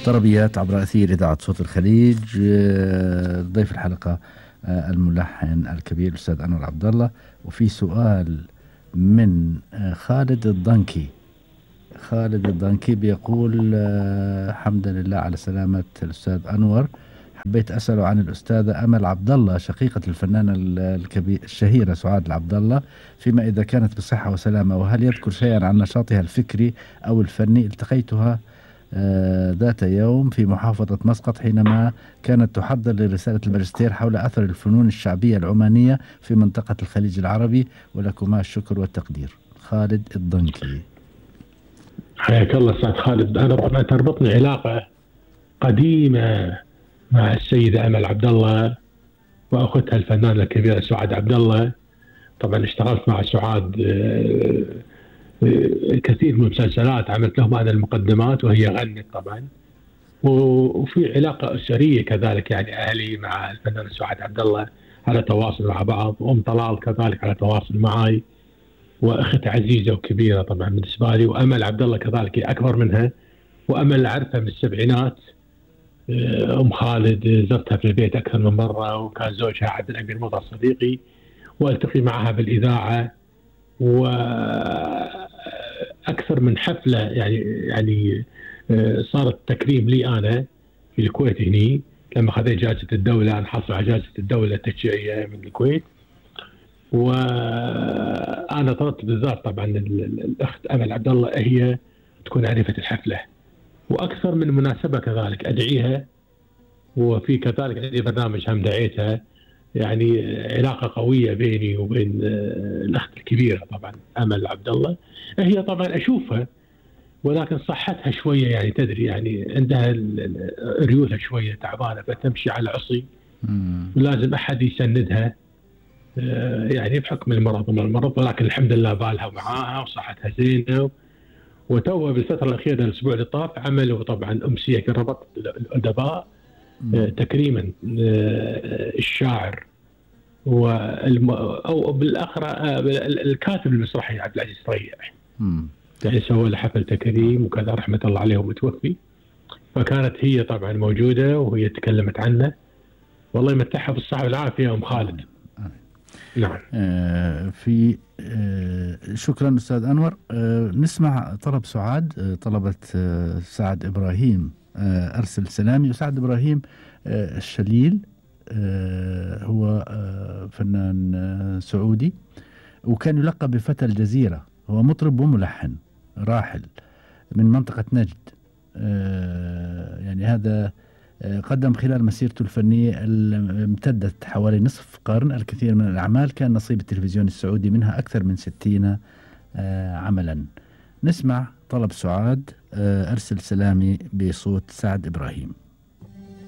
طربيات عبر أثير إذاعة صوت الخليج. ضيف الحلقة الملحن الكبير الأستاذ أنور عبد الله. وفي سؤال من خالد الضنكي. خالد الضنكي بيقول حمدا لله على سلامة الأستاذ أنور، حبيت أسأله عن الأستاذة أمل عبد الله شقيقة الفنانة الشهيرة سعاد العبد الله، فيما إذا كانت بصحة وسلامة، وهل يذكر شيئا عن نشاطها الفكري أو الفني؟ التقيتها ذات يوم في محافظة مسقط حينما كانت تحضر لرسالة الماجستير حول أثر الفنون الشعبية العمانية في منطقة الخليج العربي، ولكما الشكر والتقدير. خالد الضنكي. حياك الله أستاذ خالد. أنا طبعا تربطني علاقة قديمة مع السيدة أمل عبد الله وأختها الفنانة الكبيرة سعاد عبد الله. طبعا اشتغلت مع سعاد كثير من المسلسلات، عملت لهم أنا المقدمات وهي غنت طبعا، وفي علاقة أسرية كذلك، يعني أهلي مع الفنانة سعاد عبد الله على تواصل مع بعض، وأم طلال كذلك على تواصل معي، وأخت عزيزة وكبيرة طبعا بالنسبة لي، وأمل عبد الله كذلك أكبر منها، وأمل أعرفها من السبعينات. أم خالد زرتها في البيت أكثر من مرة، وكان زوجها عبد الأمير مطر صديقي، وألتقي معها بالإذاعة، وأكثر من حفلة يعني صارت تكريم لي أنا في الكويت هني لما خذيت جائزة الدولة. أنا حصل على جائزة الدولة التشجيعية من الكويت، وأنا طلبت بالذات طبعا الأخت أمل عبد الله هي تكون عريفة الحفلة، وأكثر من مناسبة كذلك أدعيها، وفي كذلك عندي برنامج هم دعيتها. يعني علاقة قوية بيني وبين الأخت الكبيرة طبعا أمل عبد الله. هي طبعا أشوفها ولكن صحتها شوية، يعني تدري يعني عندها ريولها شوية تعبانة، فتمشي على عصي ولازم أحد يسندها، يعني بحكم المرض وما المرض، ولكن الحمد لله بالها معاها وصحتها زينة. وتوه بالفترة الأخيرة الأسبوع اللي طاف عملوا طبعا أمسية في ربط الأدباء تكريما الشاعر أو بالأخرى الكاتب المسرحي عبد العزيز ريح، يعني سووا له حفل تكريم وكذا، رحمة الله عليه ومتوفي. فكانت هي طبعا موجودة وهي تكلمت عنه، والله يمتعها بالصحة والعافية أم خالد. نعم. في شكرا أستاذ أنور. نسمع طلب سعاد. طلبت سعد إبراهيم أرسل سلامي. وسعد إبراهيم الشليل هو فنان سعودي، وكان يلقب بفتى الجزيرة. هو مطرب وملحن راحل من منطقة نجد. يعني هذا قدم خلال مسيرته الفنية امتدت حوالي نصف قرن الكثير من الأعمال، كان نصيب التلفزيون السعودي منها أكثر من 60 عملا. نسمع طلب سعاد أرسل سلامي بصوت سعد إبراهيم.